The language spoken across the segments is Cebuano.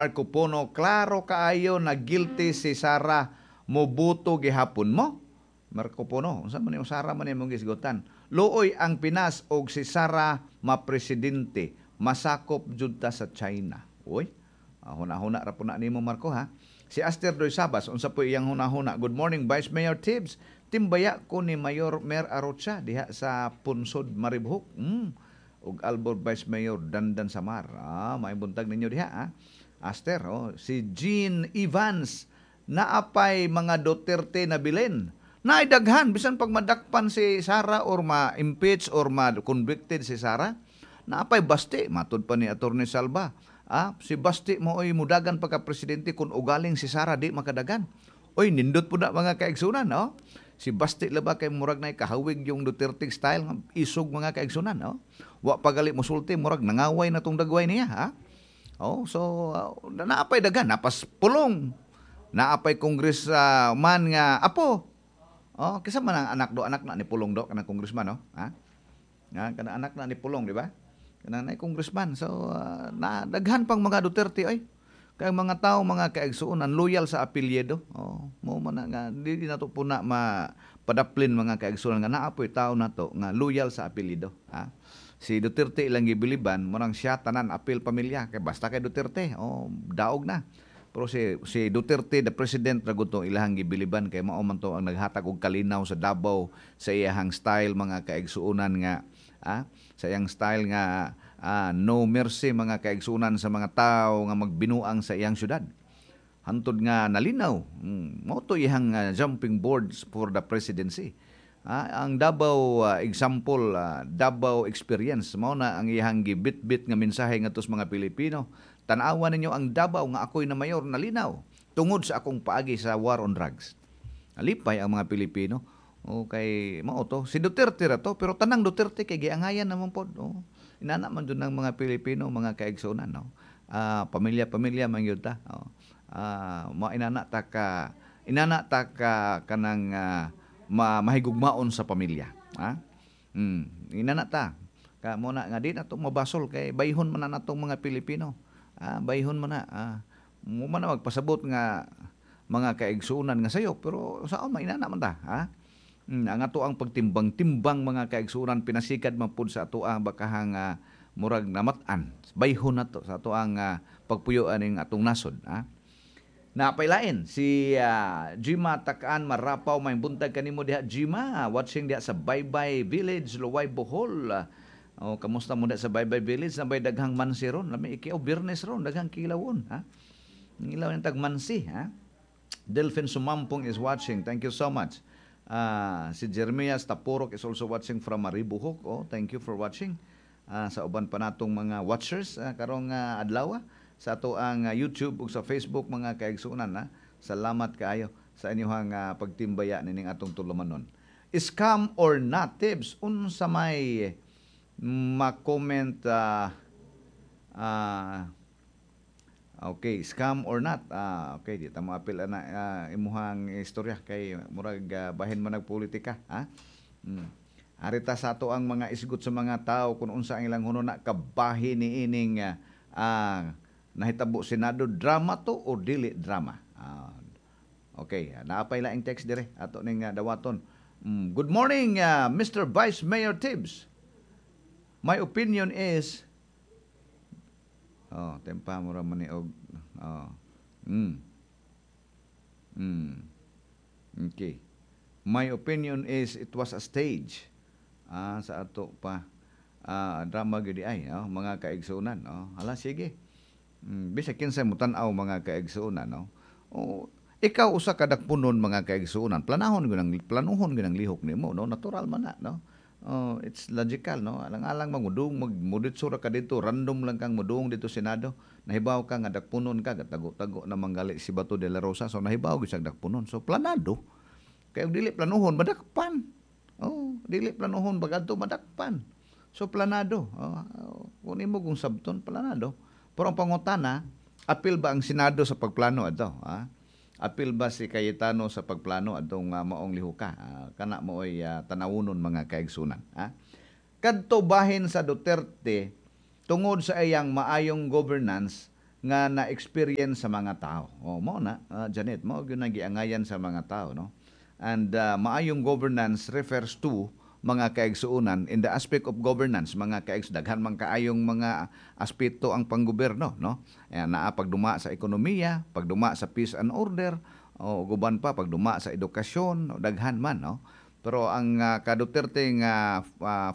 Marco Pono, klaro kaayo na guilty si Sara, mobuto gihapon mo. Marco Pono, unsa man yung Sara man imong gisgutan? Luoy ang Pinas og si Sara ma-presidente, masakop jud ta sa China. Uy, huna-huna ra po na nimo, Marco, ha. Si Aster Doy Sabas, unsa po iyang huna-huna? "Good morning, Vice Mayor Tibbs. Timbaya ko ni Mayor Mer Arocha diha sa Punsod, Maribojoc. Ug Albor Vice Mayor Dandan Samar." Ah, may buntag ninyo diha ha. Aster, oh. Si Jean Evans, "Naapay mga Duterte na bilin." Naidaghan bisan pag madakpan si Sara or ma-impeach or ma-convicted si Sara, naapay Basti, matud pa ni Attorney Salva. Ah, si Basti mo oy mudagan pagka presidente kung ugaling si Sara di makadagan. Oy, nindot po na, mga kaigsunan, no? Si Basti laba kay murag na kahawig yung Duterte style, isog, mga kaigsunan, no? Wa pagali musulti, murag nangaway na tong dagway niya, ha? Oh, so naapay dagan, napas Pulong. Naapay congress man nga apo. Oh, kisa man ang anak do, anak na ni Pulong do kanang congressman, no? Ha? Nga kana anak na ni Pulong, di ba? Kanang na congressman. So na daghan pang mga Duterte ay. Kay mga tao, mga kaigsuonan, loyal sa apelyido. Oh, mo man na nga di nato po na mapadaplin, mga kaigsuonan, nga naapoy tao nato nga loyal sa apelyido, ha? Si Duterte ilang gibiliban, murang siya tanan apil pamilya kay basta kay Duterte, oh, daog na. Pero si Duterte the president ra gud ilahang gibiliban kay mao man to ang naghatag og kalinaw sa Davao sa iyahang style, mga kaigsuonan, nga sa iyang style nga no mercy, mga kaigsuonan, sa mga tao nga magbinuang sa iyang syudad. Hantod nga nalinaw, mao to iyang jumping boards for the presidency. Ang Davao example, Davao experience, mao na ang iyang gibit-bit nga mensahe ngadto sa mga Pilipino. "Tan-awa ninyo ang Davao nga ako'y na mayor, nalinaw tungod sa akong paagi sa war on drugs." Alipay ang mga Pilipino. O kay mao to si Duterte ra to, pero tanang Duterte kay giangayan naman pod. Oh. Inana man jud ng mga Pilipino, mga kaigsuonan, no. Pamilya-pamilya man gyud ta. Oh. Mo inana ta ka kanang mahigugmaon sa pamilya. Ha? Inana ta. Ka mo na nga di na to mabasol kay bayhon man na natong mga Pilipino. Bayhon man na. Mo man na magpasabot nga mga kaigsuonan nga sayo, pero saon man, inana man ta, ha? Ang ato ang pagtimbang-timbang, mga kaigsuonan, pinasikad man pud sa ato ang bakahang murag namat-an. Bayhon na to sa ato ang pagpuyo aning atong nasod, ha? Napailain si Jima Takaan Marapaw, may buntag kanimo diha, Jima, watching diha sa Baybay Village, Luway, Bohol. Oh, kamusta mo diha sa Baybay Village? Nabay daghang mansi ron? Lami ikiaw Biyernes ron, daghang kilawon, ha? Ngilaw ng tag mansi, ha? Delphin Sumampong is watching. Thank you so much. Si Jeremias Tapurok is also watching from Maribojoc. Oh, thank you for watching. Sa uban pa natong mga watchers karong adlaw sa ato ang YouTube ug sa Facebook, mga kaigsuonan, ha. Salamat kaayo sa inyong pagtimbaya nining atong tulumanon. "Scam or not, Tibbs, unsa may ma-comment?" Okay, scam or not. Okay, di ta moapil ana imuhang istorya kay murag bahin man nagpolitika, ha? Arita sa ato ang mga isgot sa mga tao kung unsa ang ilang hununa kabahin ni ining nahitabo Senado, drama to o dili drama. Okay, naapay laing text dire ato ning dawaton. "Good morning, Mr. Vice Mayor Tibbs. My opinion is" Oh, tempa mo ra man ni og oh. Okay. "My opinion is it was a stage." Sa ato pa. Drama gyud ay, oh, mga kaigsuonan, oh. Hala, sige. Bisag kinsa mo tan-aw, mga kaigsuonan, no. Oh, ikaw usa ka dakpunon, mga kaigsuonan, planuhon gyud ang lihok nimo, no? Natural man na, no? Oh, it's logical, no? Alang-alang mangudong magmuditso ra ka dito, random lang kang mudung dito Senado. Nahibaw ka nga dakpunon ka, gatago-tago na manggali si Bato de la Rosa. So nahibaw gyud siyang dakpunon. So planado. Kay og dili planuhon, madakpan. Oh, dili planuhon bagadto, madakpan. So planado. Oh, kung imo kung sabton, planado. Pero ang pangutana, apil ba ang Senado sa pagplano adto? Ha? Apil ba si Cayetano sa pagplano adtong maong lihuka? Kana mooy tanawunon, mga kaigsunan. Ha? Kadto bahin sa Duterte, tungod sa iyang maayong governance. nga na-experience sa mga tao. Oh, mao na, Janet, mao gyud ang giangayan sa mga tao, no? And maayong governance refers to, mga kaigsuonan, in the aspect of governance, mga daghan man kaayong mga aspeto ang panggoberno, no? Ayan, naa pagduma sa ekonomiya, pagduma sa peace and order, o guban pa pagduma sa edukasyon, o daghan man, no? Pero ang ka Duterte nga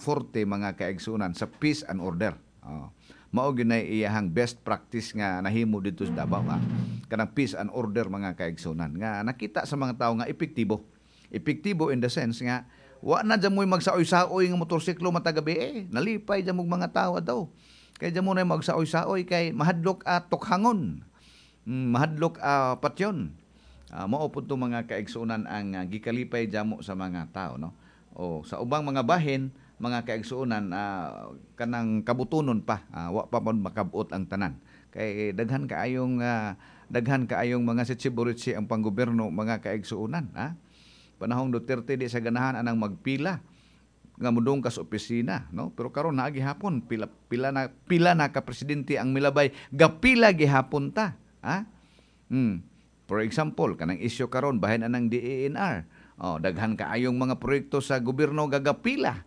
forte, mga kaigsuonan, sa peace and order. Oh. Mao gyud na iyahang best practice nga nahimo dito sa Davao, ha? Kanang peace and order, mga kaigsuonan, nga nakita sa mga tao nga epektibo. Epektibo in the sense nga wa na dyan mo'y magsaoy-saoy nga motorsiklo matag gabi eh. Nalipay dyan mong mga tao daw. Kay dyan mo na magsaoy-saoy kay mahadlok at tukhangon. Mahadlok patyon. Mao pud to, mga kaigsuonan, ang gikalipay jamo sa mga tao, no? O sa ubang mga bahin, mga kaigsuonan, kanang kabutunon pa, wa pa man makabot ang tanan. Kay daghan kaayong mga sitsi ang panggoberno, mga kaigsuonan, ha? Panahong Duterte, di sa ganahan anang magpila nga mudong ka sa opisina, no? Pero karon naa gihapon pila pila na ka presidente ang milabay, gapila gihapon ta, ha? For example, kanang isyu karon bahin anang DENR. Oh, daghan kaayong mga proyekto sa gobyerno gagapila.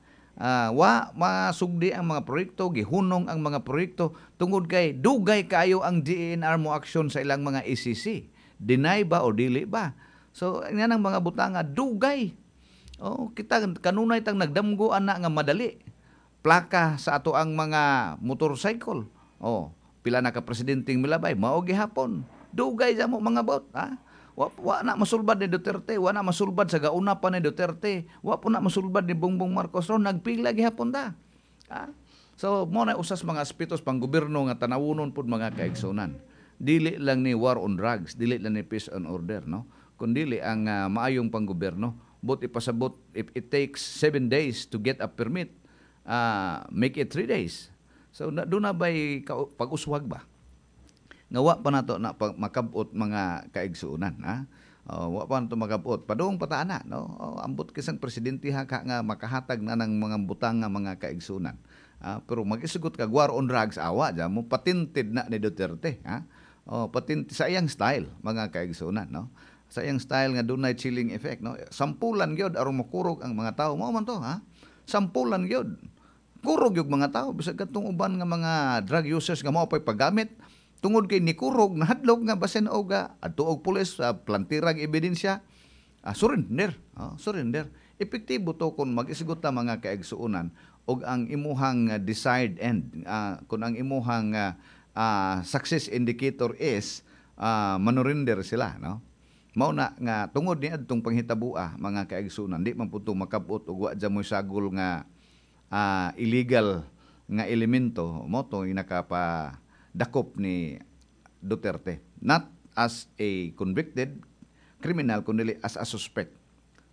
Wa masugdi ang mga proyekto, gihunong ang mga proyekto tungod kay dugay kaayo ang DENR mo aksyon sa ilang mga ECC. Deny ba o dili ba? So, nga nang mga butanga dugay. Oh, kita kanunay tang nagdamgo ana nga madali. Plaka sa ato ang mga motorcycle. Oh, pila na ka presidenteng milabay, mao gihapon. Dugay sa mo mga bot, ha? Wa na masulbad ni Duterte, wa na masulbad sa gauna pa ni Duterte, wa po na masulbad ni Bongbong Marcos ron, nagpila gihapon ta. Ha? So, mo na usas mga aspetos pang gobyerno nga tanawunon pud, mga kaigsunan. Dili lang ni war on drugs, dili lang ni peace and order, no? Kundili ang maayong panggobyerno. But ipasabot, if it takes 7 days to get a permit, make it 3 days. So, na, doon na ba'y pag-uswag ba? Nga wa pa nato na makabot, mga kaigsuonan, ha? Oh, wa pa nato makabot, padung pa ta ana, no? Oh, ambot kisang presidente ha ka nga makahatag na ng mga butang nga, mga kaigsuonan. Ah, pero mag-isugot kag war on drugs, awa dya mo patented na ni Duterte, ha? Oh, patent sa iyang style, mga kaigsuonan, no? Sa iyang style nga dunay chilling effect, no? Sampulan gyud aron makurog ang mga tao, mao man to, ha? Sampulan gyud, kurog yung mga tao, bisag katong uban nga mga drug users nga mao pay paggamit, tungod kay nikurog, nahadlok nga basin og adto og pulis, plantirag ebidensya, surrender, oh, surrender. Epektibo to kung mag-isgot ta, mga kaigsuonan, og ang imuhang desired end, kung ang imuhang success indicator is manurrender sila, no? Mao na nga tungod ni adtong panghitabua, mga kaigsuonan, di man pud to makabot og wa dyan mo'y sagol nga illegal nga elemento, mo to nakapa dakop ni Duterte, not as a convicted criminal kundi as a suspect.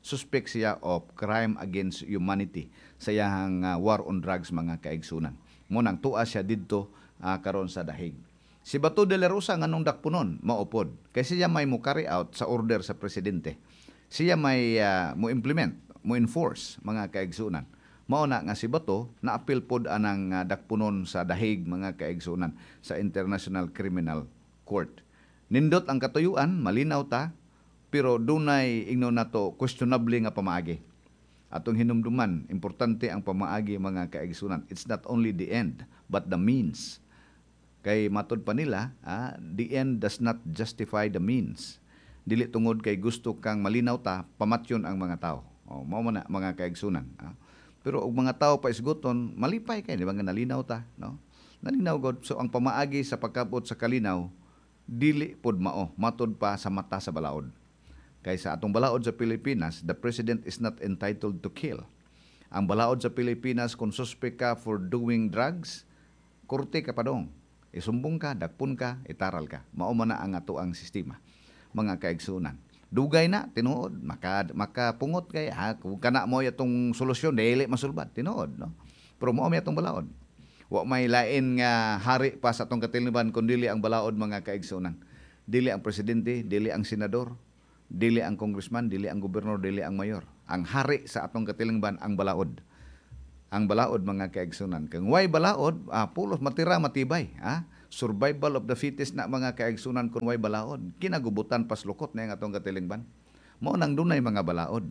Suspect siya of crime against humanity sa iyahang war on drugs, mga kaigsunan. Mo nang tua siya didto karon sa dahig. Si Bato de la Rosa, nganong dakpunon? Maupod kay siya may mo carry out sa order sa presidente. Siya may mo implement, mo enforce, mga kaigsunan. Mao na nga si Bato naapil pod anang dakpunon sa dahig, mga kaigsunan, sa International Criminal Court. Nindot ang katuyuan, malinaw ta, pero dunay ingnon nato questionable nga pamaagi. Atong hinumduman, importante ang pamaagi, mga kaigsunan. It's not only the end, but the means. Kay matod pa nila, the end does not justify the means. Dili tungod kay gusto kang malinaw ta, pamatyon ang mga tao. O, mao man na, mga kaigsunan. Pero og mga tao pa isguton, malipay kay, di ba nga nalinaw ta, no? Nalinaw god. So ang pamaagi sa pagkabot sa kalinaw dili pod mao matod pa sa mata sa balaod. Kay sa atong balaod sa Pilipinas, the president is not entitled to kill. Ang balaod sa Pilipinas, kung suspect ka for doing drugs, korte ka padong. Isumbong ka, dakpon ka, itaral ka. Mao man na ang ato ang sistema, mga kaigsunan. Dugay na, tinuod, makapungot kay, ha, kung kana mo atong solusyon, dili masulbad, tinuod, no? Pero mao may atong balaod. Wa may lain nga hari pa sa atong katilingban kun dili ang balaod, mga kaigsunan. Dili ang presidente, dili ang senador, dili ang congressman, dili ang gobernador, dili ang mayor. Ang hari sa atong katilingban ang balaod. Ang balaod, mga kaigsunan. Kung way balaod, pulos matira matibay, ha? Survival of the fittest na, mga kaigsunan, kung way balaod. Kinagubutan paslukot na yung atong katilingban. Mao nang dunay mga balaod.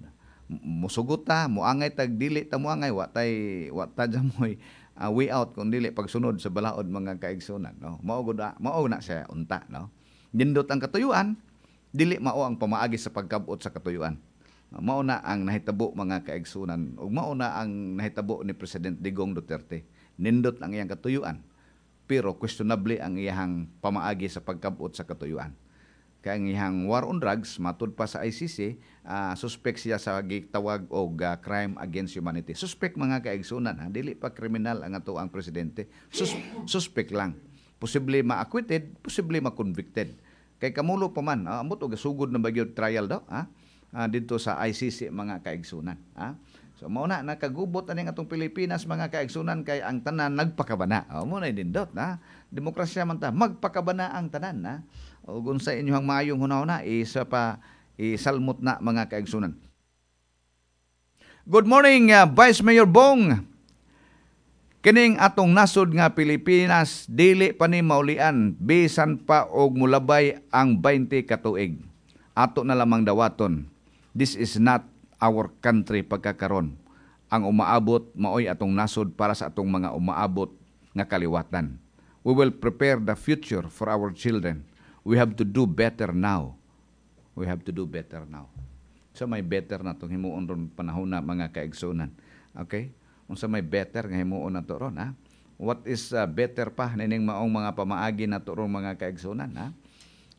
Musugot ta, muangay tag dili ta muangay, wa tay wa ta jamoy way out kung dili pagsunod sa balaod, mga kaigsunan, no? Mao gud mao na siya unta, no? Nindot ang katuyuan, dili mao ang pamaagi sa pagkabot sa katuyuan. Mao na ang nahitabo, mga kaigsunan, ug mao na ang nahitabo ni President Digong Duterte. Nindot ang iyang katuyuan, pero questionable ang iyang pamaagi sa pagkabot sa katuyuan. Kay ang iyang war on drugs, matud pa sa ICC, suspect siya sa gitawag og crime against humanity. Suspect, mga kaigsunan, ha? Dili pa kriminal ang ato ang presidente. Suspect lang. Posible ma-acquitted, posible ma-convicted. Kay kamulo pa man, ambot og sugod na ba gyud trial daw, ha? Didto sa ICC, mga kaigsunan, ha? So mao na nakagubot ani atong Pilipinas, mga kaigsunan, kay ang tanan nagpakabana. Oh, mo na dindot na. Demokrasya man ta, magpakabana ang tanan na. O kung sa inyong maayong hunahuna isa pa isalmot na, mga kaigsunan. Good morning, Vice Mayor Bong. Kining atong nasod nga Pilipinas dili pa ni maulian bisan pa og mulabay ang 20 ka tuig. Ato na lamang dawaton. This is not our country pagkakaron. Ang umaabot maoy atong nasod para sa atong mga umaabot nga kaliwatan. We will prepare the future for our children. We have to do better now. We have to do better now. So may better na itong himuon ron panahon na, mga kaigsunan. Okay? Unsa may better nga himuon na to ron, ha? What is better pa nining maong mga pamaagi na to ron, mga kaigsunan, ha?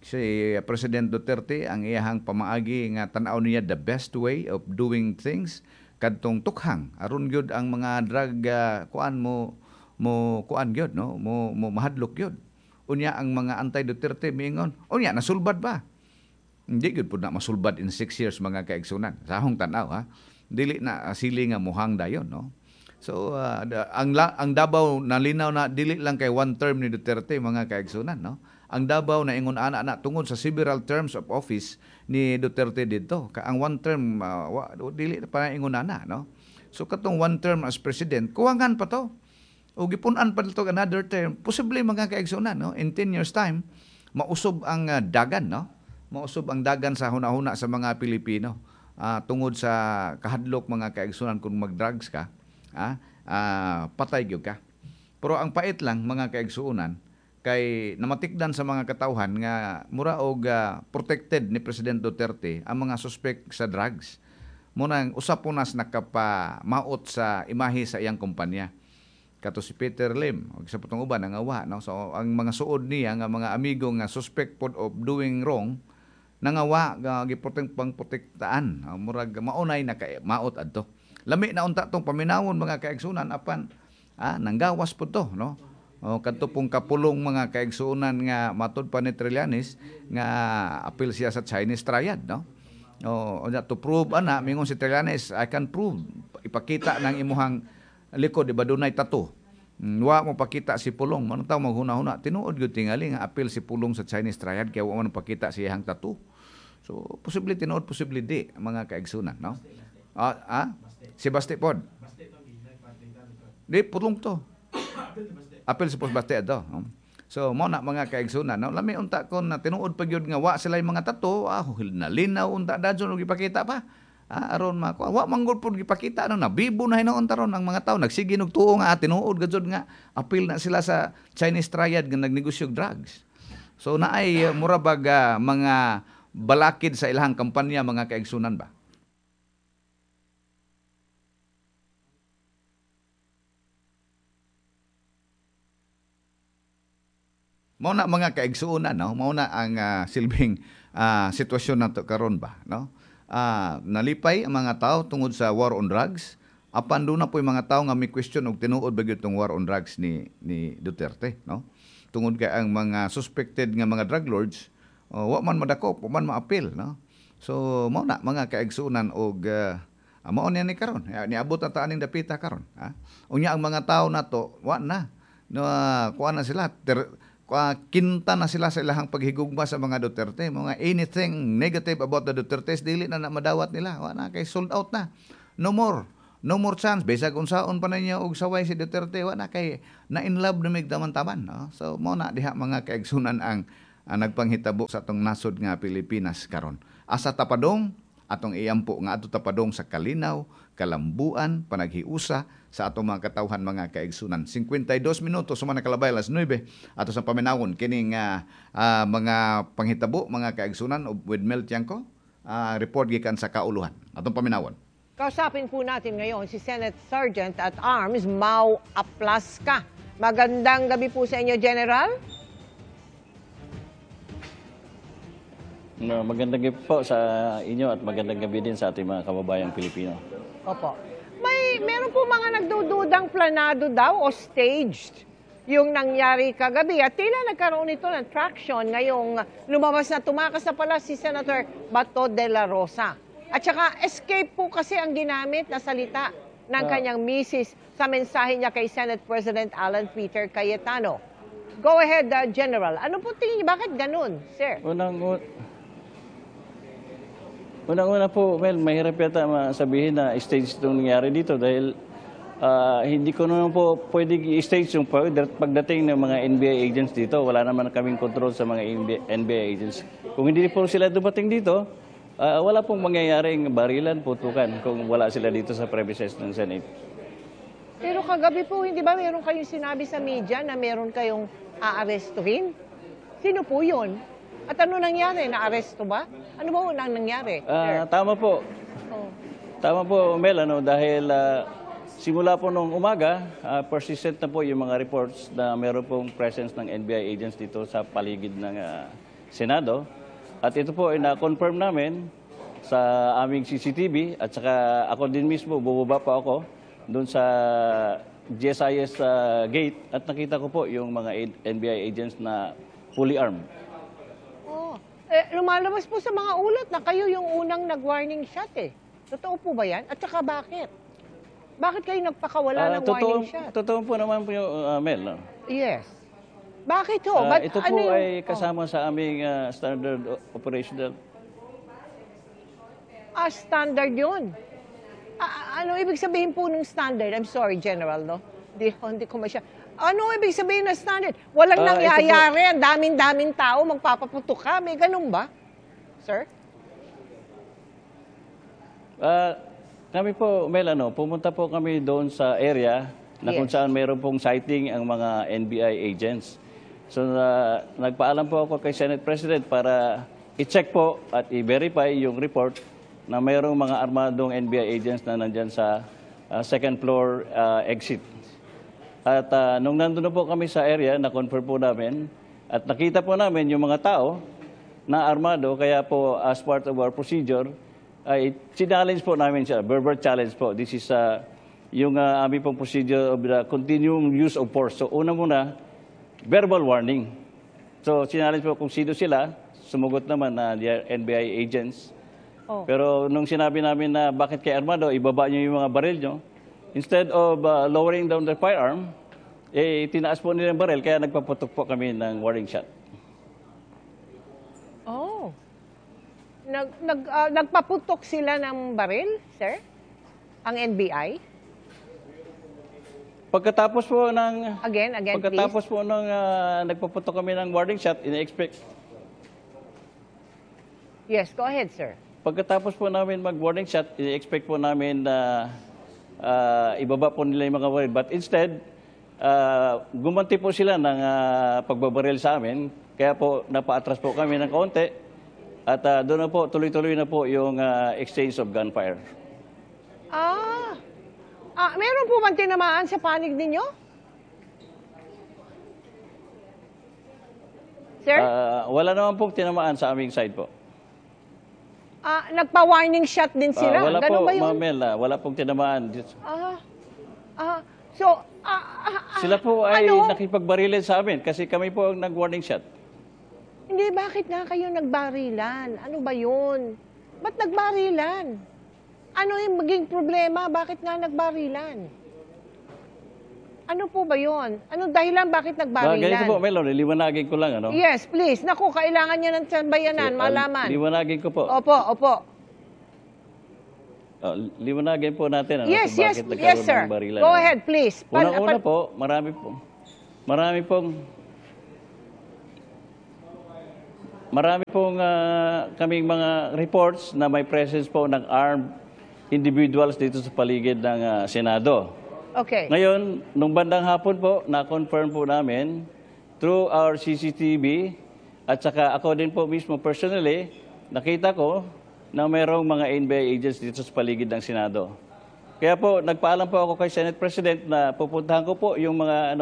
Si President Duterte, ang iyahang pamaagi nga tan-aw niya the best way of doing things kadtong tukhang aron gyud ang mga drug kuan mo mo kuan gyud, no, mo mo mahadlok gyud. Unya ang mga anti Duterte miingon unya nasulbad ba? Hindi gyud pud na masulbad in 6 years, mga kaigsunan, sa akong tan-aw, ha. Dili na sili nga muhang dayon, no? So ang Davao nalinaw na dili lang kay one term ni Duterte, mga kaigsunan, no? Ang Davao na ingon ana na tungod sa several terms of office ni Duterte didto. Ka ang one term dili pa ingon ana, no? So katong one term as president, kuwangan pa to. O gipun-an pa dito another term, posible, mga kaigsunan, no? In 10 years time, mausob ang dagan, no? Mausob ang dagan sa hunahuna sa mga Pilipino. Tungod sa kahadlok, mga kaigsunan, kung mag-drugs ka, patay gyud ka. Pero ang pait lang, mga kaigsuonan, kay namatikdan sa mga katawhan nga mura og protected ni President Duterte ang mga suspect sa drugs. Munang usa po nas nakapamaot sa imahe sa iyang kumpanya. Kato si Peter Lim ug sa putong uban nangawa, no? So ang mga suod niya nga mga amigo nga suspect pod of doing wrong nangawa, giprotect pang protektaan. Murag maunay naka maot adto. Lami na unta tong paminawon, mga kaigsunan, apan nanggawas pud to, no? O kadto pong kapulong, mga kaigsunan, nga matud pa ni Trillanes nga apil siya sa Chinese Triad, no? O unya to prove ana, mingon si Trillanes, "I can prove." Ipakita ng imuhang likod, di ba dunay tattoo? Wa mo pakita si Pulong. Manong tao maghuna-huna, tinuod gyud tingali nga apil si Pulong sa Chinese Triad kaya wa man pakita sa iyang tattoo. So posible tinuod, posible di, mga kaigsunan, no? Si Baste pod. Di Pulong to. Apil si Baste ato. So mo na, mga kaigsunan, no? Lami unta kon na tinuod pa gyud nga wa sila yung mga tattoo, nalinaw unta dadyon og ipakita pa. Aron ma wa manggol pud gipakita, no, nabibo na hinuon taron ang mga tao nagsige og tuo nga tinuod gajud nga apil na sila sa Chinese Triad nga nagnegosyo og drugs. So naay mura bag mga balakid sa ilahang kampanya, mga kaigsunan ba. Mao na, mga kaigsuonan, no? Mao na ang silbing sitwasyon nato karon ba, no? Nalipay ang mga tao tungod sa war on drugs. Apan doon na po yung mga tao nga may question og tinuod ba gyud tong war on drugs ni Duterte, no? Tungod kay ang mga suspected nga mga drug lords, oh, wa man madakop, wa man maapil, no? So mao na, mga kaigsuonan, og mao niya ni karon. Niabot na ta aning dapita karon, ha? Unya ang mga tao nato wa na no, kuha na sila kinta na sila sa ilahang paghigugma sa mga Duterte. Mga anything negative about the Dutertes, dili na na madawat nila. Wa na kay sold out na. No more. No more chance bisag unsaon pa ninyo og saway si Duterte, wa na kay na in love na mig taman-taman, no? So mao na diha, mga kaigsunan, ang nagpanghitabo sa atong nasod nga Pilipinas karon. Asa ta padong, atong iampo nga adto ta padong sa kalinaw, kalambuan, panaghiusa sa atong mga katawhan, mga kaigsunan. 52 minutos sa mga kalabay alas 9, ato sa paminawon kining mga panghitabo, mga kaigsunan, with Mel Tiangco, report gikan sa kauluhan. Atong paminawon. Kausapin po natin ngayon si Senate Sergeant at Arms Mau Aplasca. Magandang gabi po sa inyo, General. No, magandang gabi po sa inyo at magandang gabi din sa ating mga kababayang Pilipino. Opo. Meron po mga nagdududang planado daw o staged yung nangyari kagabi. At tila nagkaroon ito ng traction ngayong lumabas na tumakas na pala si Senator Bato de la Rosa. At saka escape po kasi ang ginamit na salita ng kanyang misis sa mensahe niya kay Senate President Alan Peter Cayetano. Go ahead, General. Ano po tingin niyo? Bakit ganun, sir? Unang-una po, well, mahirap yata sabihin na stage itong nangyari dito dahil hindi ko naman po pwedeng i-stage yung pagdating ng mga NBI agents dito. Wala naman kaming control sa mga NBI agents. Kung hindi po sila dumating dito, wala pong mangyayaring barilan, putukan kung wala sila dito sa premises ng Senate. Pero kagabi po, hindi ba meron kayong sinabi sa media na meron kayong aarestuhin? Sino po yun? At ano nangyari? Naaresto ba? Ano ba unang nangyari, sir? Tama po. Oh. Tama po, Mel, ano, dahil simula po nung umaga, persistent na po yung mga reports na meron pong presence ng NBI agents dito sa paligid ng Senado. At ito po ay na-confirm namin sa aming CCTV at saka ako din mismo, bumaba po ako doon sa GSIS gate at nakita ko po yung mga NBI agents na fully armed. Oh. Eh, lumalabas po sa mga ulat na kayo yung unang nag-warning shot eh. Totoo po ba yan? At saka bakit? Bakit kayo nagpakawala ng totoo, warning shot? Totoo po naman po yung Mel, no? Yes. Bakit ho? Ba't, Ito ano po ay kasama sa aming standard operational. Ah, standard yun. Ah, ano ibig sabihin po ng standard? I'm sorry, General, no? Hindi ko masya. Ano ibig sabihin ng standard? Walang Ito po- nangyayari, ang daming-daming tao, magpapaputok ka. May ganun ba, sir? Kami po, Mel, ano, pumunta po kami doon sa area na kung saan mayroon pong sighting ang mga NBI agents. So, nagpaalam po ako kay Senate President para i-check po at i-verify yung report na mayroong mga armadong NBI agents na nandyan sa second floor exit. At nung nandun na po kami sa area, na-confirm po namin at nakita po namin yung mga tao na armado, kaya po as part of our procedure, ay challenge po namin siya, verbal challenge po. This is yung aming pong procedure of the continuing use of force. So una muna, verbal warning. So challenge po kung sino sila, sumugot naman na they are NBI agents. Pero nung sinabi namin na bakit kay armado, ibaba niyo yung mga baril niyo, instead of lowering down the firearm, eh, tinaas po nila yung baril, kaya nagpaputok po kami ng warning shot. Oh. Nagpaputok sila ng baril, sir? Ang NBI? Pagkatapos po ng Again, again, please. Pagkatapos po ng nagpaputok kami ng warning shot, ina-expect Yes, go ahead, sir. Pagkatapos po namin mag-warning shot, ina-expect po namin na ibaba po nila yung mga baril. But instead, gumanti po sila ng pagbabaril sa amin. Kaya po napaatras po kami ng kaunti. At doon na po, tuloy-tuloy na po yung exchange of gunfire. Ah. Ah, meron po bang tinamaan sa panig ninyo? Sir? Wala naman pong tinamaan sa aming side po. Ah, nagpa-warning shot din sila. Wala Ganun po, ba yun? Ma'am Mel, wala pong tinamaan. Ah, so, Sila po ay ano? nakipagbarilan sa amin kasi kami po ang nag-warning shot. Hindi, bakit nga kayo nagbarilan? Ano ba yun? Ba't nagbarilan? Ano yung maging problema? Bakit nga nagbarilan? Ano po ba yun? Anong dahilan bakit nagbarilan? Ganito po, Mel, liwanagin ko lang. Ano? Yes, please. Naku, kailangan niya ng sambayanan, Sige, malaman. Liwanagin ko po. Opo. Oh, liwanagin po natin ano, Yes, kung yes, bakit yes, nagkaroon sir. ng barilan. Go Ano. ahead, please. Unang-una po, marami pong, marami pong kaming mga reports na may presence po ng armed individuals dito sa paligid ng Senado. Ngayon, nung bandang hapon po, na-confirm po namin through our CCTV at saka ako din po mismo personally, nakita ko na mayroong mga NBI agents dito sa paligid ng Senado. Kaya po, nagpaalam po ako kay Senate President na pupuntahan ko po yung mga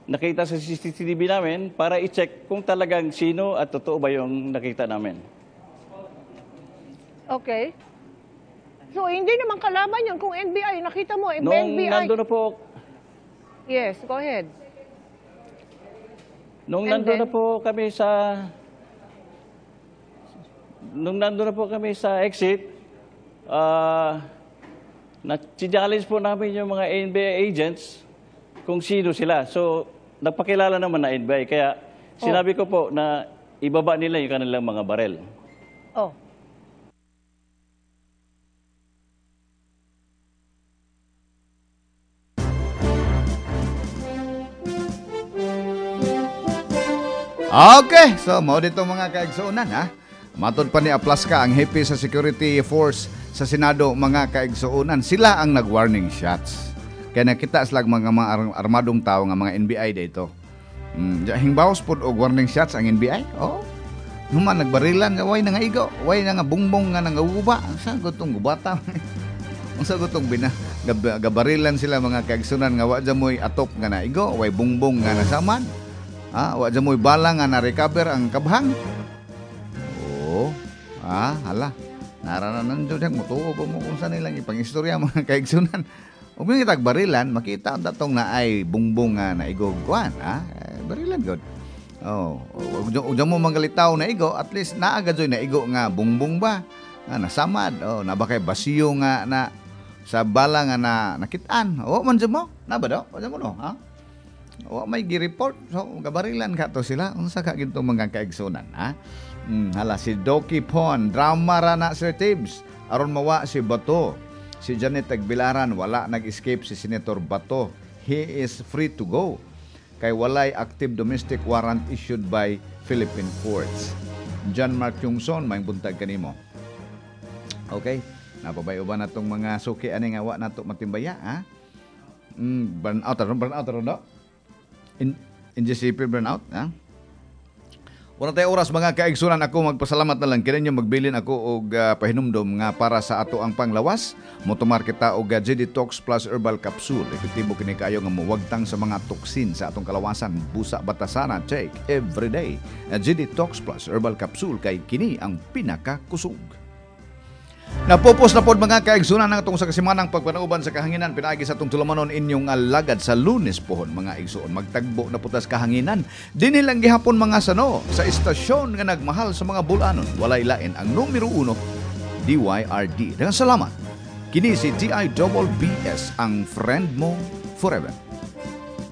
nakita sa CCTV namin para i-check kung talagang sino at totoo ba yung nakita namin. Okay. So, hindi naman kalaban yun kung NBI. Nakita mo, Nung NBI. nandun na po, Yes, go ahead. Nung And nandun then? na po kami sa Nung nandun na po kami sa exit, na-challenge po namin yung mga NBI agents kung sino sila. So, nagpakilala naman na NBI. Kaya sinabi ko po na ibaba nila yung kanilang mga barel. Oh. Okay, so mao dito mga kaigsuonan ha. Matod pa ni Aplaska ang hepe sa security force sa Senado, mga kaigsuonan, sila ang nag-warning shots. Kaya nakita sila mga armadong tao nga mga NBI dito. Hingbaos pod og warning shots ang NBI. Oh. Human nagbarilan nga way nga igo, way nga bungbong nga nangaguba. Sa gutong gubata. Unsa gutong bina gabarilan sila mga kaigsuonan nga wa mo'y atop nga naigo, way bungbong nga nasaman. Ah, wa mo'y bala nga na-recover ang kabhang. Oh, hala. Narananan jud ang mutuo pa mo kung saan nilang ipang-istorya mga kaigsunan. Ug may kitag barilan, makita ang datong na ay bungbong nga naigo kuan, ah, barilan gud. Oh, ug mo mangalitaw na igo, at least naa gud na igo nga bungbong ba? Nga nasamad, oh, na ba kay basiyo nga na sa bala nga na nakitaan. Oh, man jud mo. Na ba daw? Wa mo no, ha? Wa may gi-report. So, gabarilan ka to sila. Unsa ka gintong mga kaigsunan, ha? Hala si Doki Pon, drama ra na Sir Tibbs. Aron mawa si Bato. Si Janet Tagbilaran, wala nag-escape si Senator Bato. He is free to go. Kay walay active domestic warrant issued by Philippine courts. John Mark Kyungson, may buntag kanimo. Okay. Napabayo ba na tong mga suki ani nga wa nato matimbaya, ha? Burn out ron, burn out ron, no? In NGCP burn out, ha? Wala tayo oras mga kaigsunan, ako magpasalamat na lang kini magbilin ako og pahinumdom nga para sa ato ang panglawas. Motumar kita og G-Detox Plus Herbal Capsule. Epektibo kini kaayo nga mowagtang sa mga toksin sa atong kalawasan. Busa batasana, take every day. G-Detox Plus Herbal Capsule kay kini ang pinakakusog. Napupos na pod mga kaigsunan ang atong sa kasimanang pagpanauban sa kahanginan pinaagi sa atong tulumanon inyong alagad sa Lunes pohon mga igsuon. Magtagbo na putas kahanginan. Dinhi lang gihapon mga sano sa istasyon nga nagmahal sa mga bulanon. Walay lain ang numero 1 DYRD. Daghang salamat. Kini si DIBBS ang friend mo forever.